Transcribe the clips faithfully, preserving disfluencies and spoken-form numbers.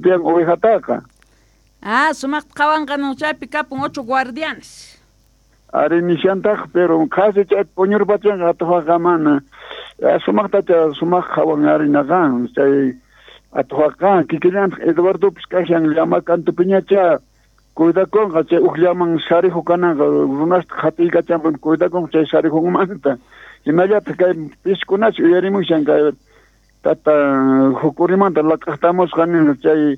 Tiyan ovejataqa. Ah, sumaqta qhawanqa chaypi kapun ocho guardianes. Ari nishantaq, pero qhasi chay puñurpachanqa atuqaqa mana. Sumaqtacha sumaq qhawan ari naqan chay atuqaqa kikillantaq Eduardopis kashan llama kantupiñacha cuidakunqa chay uj llaman sarijo kananqa runasta qhatiykachanpuni cuidakunqa chay sarijunmanta. Hinallataq kay piskunachu uyarimushan kay tata jukurimanta laq'aqtamusqa nin chay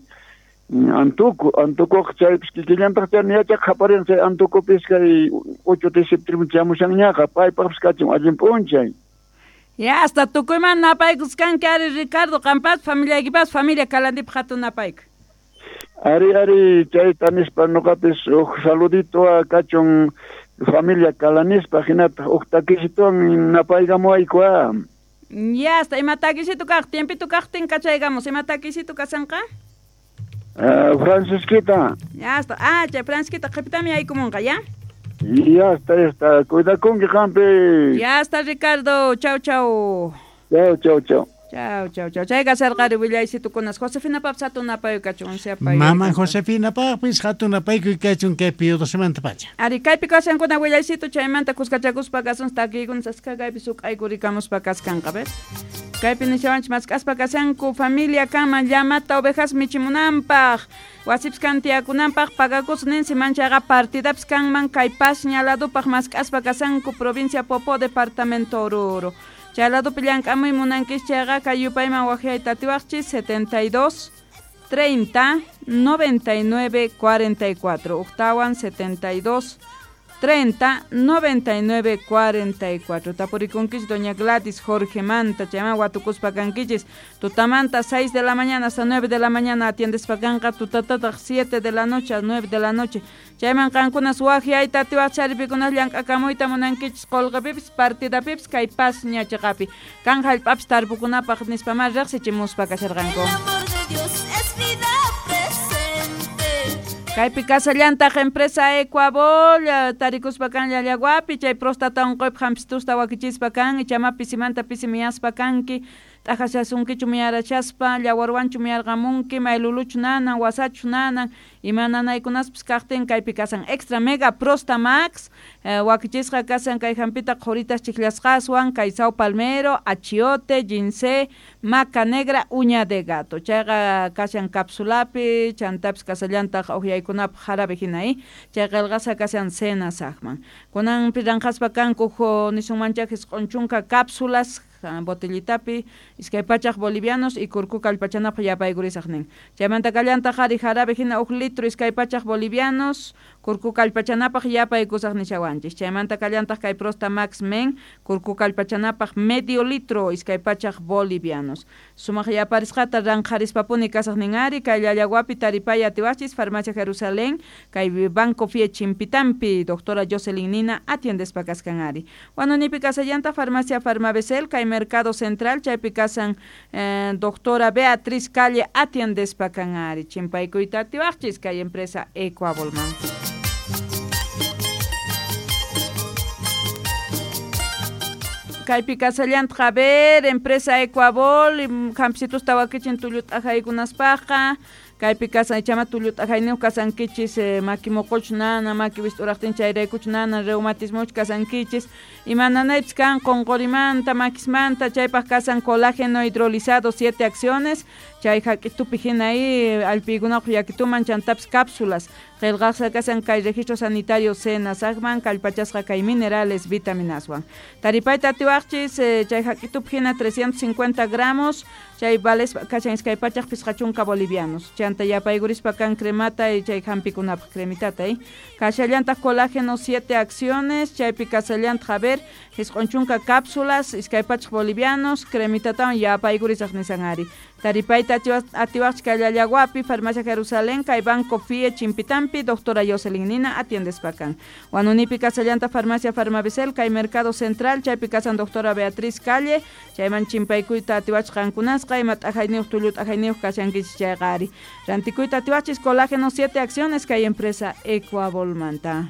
antuku antukuqa chaypis kikillantaq chay yachaq qhaparin chay antukupis kay ocho de septiembre chamushanñaqa paypaqpis kachin allin p'unchay. Ya hasta tukuyman napaykuskanki ari Ricardo qampas familiaykipas familia Kalandipaq hatun napayku. Ari ari chayta nispa nuqapis uj saludito kachun familia Kalanispa hinataq uj takisituwan napaykamuwayku. Ya hasta ima takisitu kaq tiempito kaqtin kachaykamos ima takisitu kasanqa? Uh, Francisquita. Ya hasta ah chay Francisquita qhipitami yaykumunqa ya. Ya está, ya está. Cuidakunki qampi. Ya está Ricardo. Chau chau. Chau chau chau. Chau chau chau. Chayqa sarqari willaysitukunas Josefinapapis hatun napayku kachun siapay. Mama Josefinapaqpis hatun napaykuy kachun kay Pío docemantapacha pacha. Ari kaypi kashankuna willaysitu chaymanta kuskachakuspa kasun takiykunas aska kaypi suq'aykurikamuspa kaskanqa ver. Kaypi nishawanchik mask'aspa kashanku familia kanman llamata ovejas michimunanpaq wasipis kan tiyakunanpaq pagakus ninsi manchaqa partidapis kanman kay Pasña ladupaq mask'aspa kashanku provincia Popó departamento Oruro. Chay ladupi llank'amuy munankichis chayqa kay yupayman waqyayta atiwaqchis setenta y dos treinta noventa y nueve cuarenta y cuatro uqtawan setenta y dos treinta noventa y nueve cuarenta y cuatro. Tapurikunkichis doña Gladys Jorge Manta chayman watukuspa kankichis tutamanta seis de la mañana hasta nueve de la mañana atiendespa kanqa tutatataq siete de la noche a nueve de la noche chayman qankunas waqyayta atiwaqchis aripikunas llank'akamuyta munankichis qullqipipis partidapipis kay Pasña chiqapi kan hallp'apis tarpukunapaq nispamá riqsichimuspa kasharqanku. Kaypi kasallantaq empresa Ecuabol tarikuspa kan llallaguapi chay próstata unquypaq hampitusta wakichispa kan ichama pisimanta pisi miyaspa kanki t'aqashasunkichu miyarachaspa llawarwanchu miyarqamunki mayluluchu nanan wasachu nanan ima nanaykunaspis kaqtin kaypi kasan extra mega prosta max eh, wakichisqa kasan kay hampita qhuritas chikllasqaswan kay sao palmero achiote ginseng maca negra uña de gato chayqa kashan capsulapi chantapis kasallantaq uhyaykunapaq jarabe hina eh? Chay qillqasqa kashan cena saqman kunanpi ranqaspa kanku nisunmanchaq isq'un chunka cápsulas botellitapi iskay pachaq bolivianos y kurku kallpachanapaq yapaykurisaq nin chaymanta kallantaq ari jarabe hina uj litro iskay pachaq bolivianos kurku kallpachanapaq yapaykusaq nishawanchis chaymanta kallantaq kay Prosta Max Men kurku kallpachanapaq medio litro iskay pachaq bolivianos sumaq yaparisqata ranqharispapuni kasaq nin ari kay Llallaguapi taripay atiwachis Farmacia Jerusalén kay Banco Fie Chimpitampi doctora Jocelyn Nina atiendespa kaskan ari Wanunipi kasallanta Farmacia Farmabesel kay Mercado Central chaypi kasan eh, doctora Beatriz Calle atiendespa kan ari chimpaykuyta atiwaqchis kay empresa Ecuabolman. Kaypi kasallantaq a ver empresa Ecuabol hampitusta wakichin tullu t'aqaykunaspaqqa kaypi kasan ichama tullu t'aqayniyuq kasankichis eh, maki muquchu nana maki wist'uraqtin chayraykuchu nana reumatismochu kasankichis ima nanaypis kan qunqurimanta makismanta chaypaq kasan colágeno hidrolizado siete acciones chay hak'itupi hina ahí allpiykunapaq yakituman chantapis cápsulas qillqasqa kasan kay registro sanitario Senasaqman kallpachasqa kay minerales vitaminaswan taripayta atiwaqchis eh, chay hak'itupi hina trescientos cincuenta gramos chay vales kashan iskay pachaq pisqa chunka bolivianos chanta yapaykurispa kan cremata y chay hampikunapaq cremitata eh kashallantaq colágeno siete acciones chaypi kasallantaq a ver isq'un chunka cápsulas iskay pachaq bolivianos cremitatawan yapaykurisaq nisan ari taripayta atiwaqchis kay Llallaguapi Farmacia Jerusalén kay Banco Fie Chimpitampi doctora Jocelyn Nina atiendespa kan Wanunipi kasallanta Farmacia Farmabesel kay Mercado Central chaypi kasan doctora Beatriz Calle chayman chimpaykuyta atiwachis qankunasqa ima t'ajayniyuq tullu t'ajayniyuq kashankichis chayqa ari rantikuyta atiwachis colágeno siete acciones kay empresa Ecuabolmanta.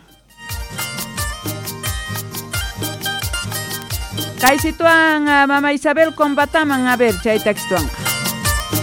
Kay situan mama Isabel combataman a ver chay taxituanqa.